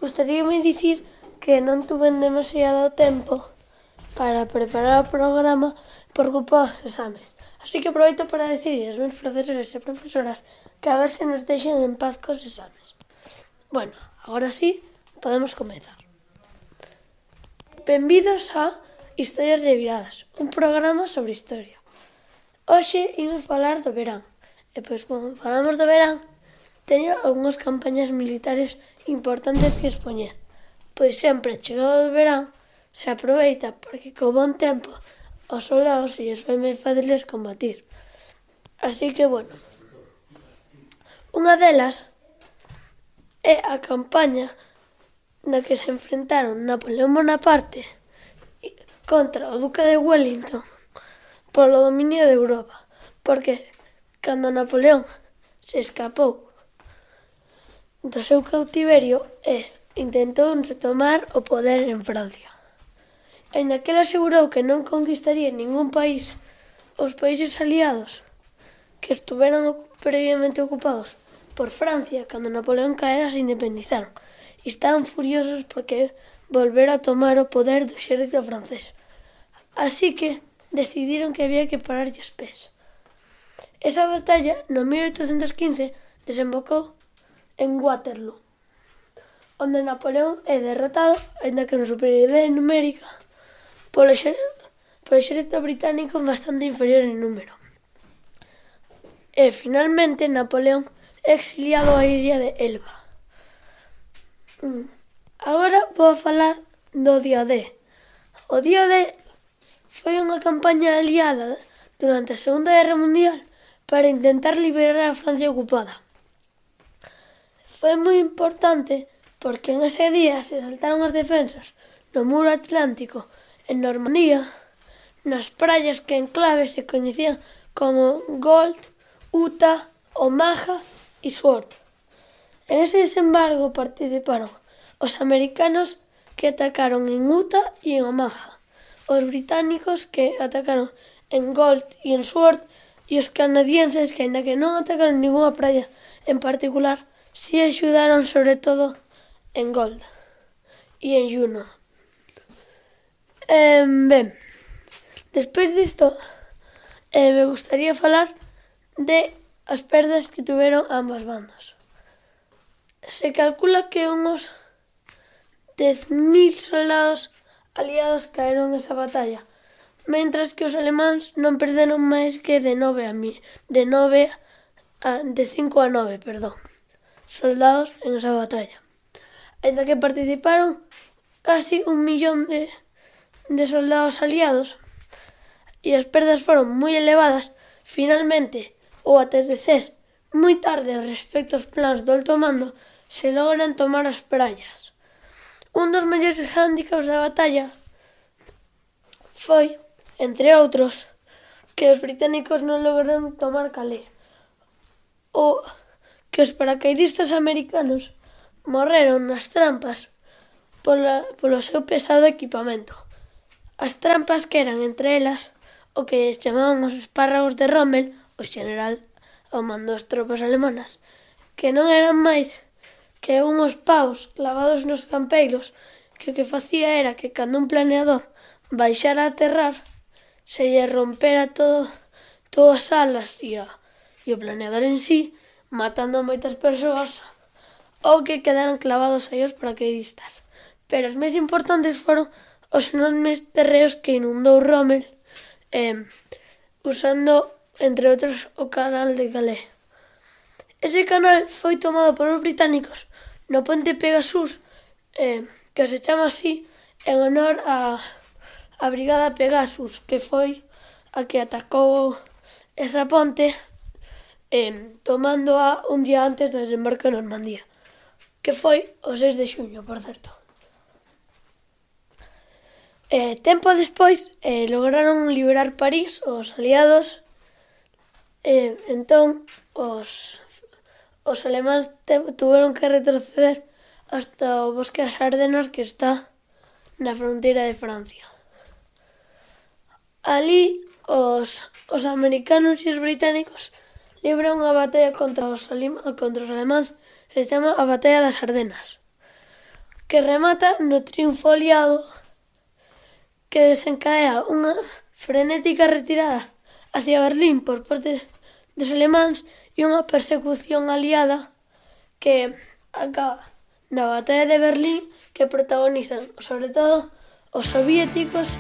Gustaríame dicir que non tuven demasiado tempo para preparar o programa por culpa dos exames. Así que aproveito para dicir aos meus profesores e profesoras que a ver se nos deixen en paz cos exames. Bueno, agora sí, podemos comezar. Benvidos a Historias Reviradas, un programa sobre historia. Hoxe imos falar do verán. E pois, como falamos do verán, teño algunhas campañas militares importantes que expoñer. Pois sempre chegado o verán se aproveita porque co bon tempo os soldados se lles foi moi fáciles combatir. Así que, bueno, unha delas é a campaña na que se enfrentaron Napoleón Bonaparte contra o Duque de Wellington polo dominio de Europa, porque cando Napoleón se escapou do seu cautiverio e intentou retomar o poder en Francia. Aínda que ele asegurou que non conquistaría ningún país, os países aliados que estuveran previamente ocupados por Francia cando Napoleón caera se independizaron e estaban furiosos porque volvera a tomar o poder do exército francés. Así que decidiron que había que pararlle os pés. Esa batalla, no 1815, desembocou en Waterloo, onde Napoleón é derrotado, aínda que en superioridade numérica, polo exército británico bastante inferior en número. E, finalmente, Napoleón é exiliado á illa de Elba. Agora vou falar do día D. O día D foi unha campaña aliada durante a Segunda Guerra Mundial para intentar liberar a Francia ocupada. Foi moi importante porque en ese día se saltaron as defensas do muro atlántico en Normandía, nas praias que en clave se coñecían como Gold, Utah, Omaha e Sword. En ese desembargo participaron os americanos que atacaron en Utah e en Omaha, os británicos que atacaron en Gold e en Sword e os canadienses que, aínda que non atacaron ninguna praia en particular, si axudaron sobre todo en Gold e en Juno. Ben, despois disto me gustaría falar de as perdas que tuveron ambas bandas. Se calcula que unos 10.000 soldados aliados caeron nesa batalla, mentras que os alemáns non perderon máis que de 5 a 9, soldados en esa batalla. Aínda que participaron casi 1.000.000 de soldados aliados e as perdas foron moi elevadas, finalmente, ao atardecer moi tarde respecto aos plans do alto mando, se logran tomar as praias. Un dos mellores hándicaps da batalla foi, entre outros, que os británicos non lograron tomar Calais, ou que os paracaidistas americanos morreron nas trampas polo seu pesado equipamento. As trampas que eran, entre elas, o que chamaban os espárragos de Rommel, o xeneral ao mando das tropas alemanas, que non eran máis que unhos paus clavados nos campeiros que o que facía era que cando un planeador baixara a aterrar se lle rompera todas as alas e o planeador en sí, matando a moitas persoas ou que quedaran clavados aí os paracaidistas. Pero os máis importantes foron os enormes terreos que inundou Rommel usando, entre outros, o canal de Calais. Ese canal foi tomado polos británicos no Puente Pegasus, que se chama así en honor a Brigada Pegasus, que foi a que atacou esa ponte tomándoa un día antes do desembarco en Normandía, que foi o 6 de xuño, por certo. Tempo despois lograron liberar París os aliados, entón os alemáns tuveron que retroceder hasta o bosque das Ardenas, que está na fronteira de Francia. Alí os americanos e os británicos libran unha batalla contra os alemáns que se chama a Batalla das Ardenas, que remata no triunfo aliado que desencadea unha frenética retirada hacia Berlín por parte dos alemáns e unha persecución aliada que acaba na batalla de Berlín que protagonizan, sobre todo, os soviéticos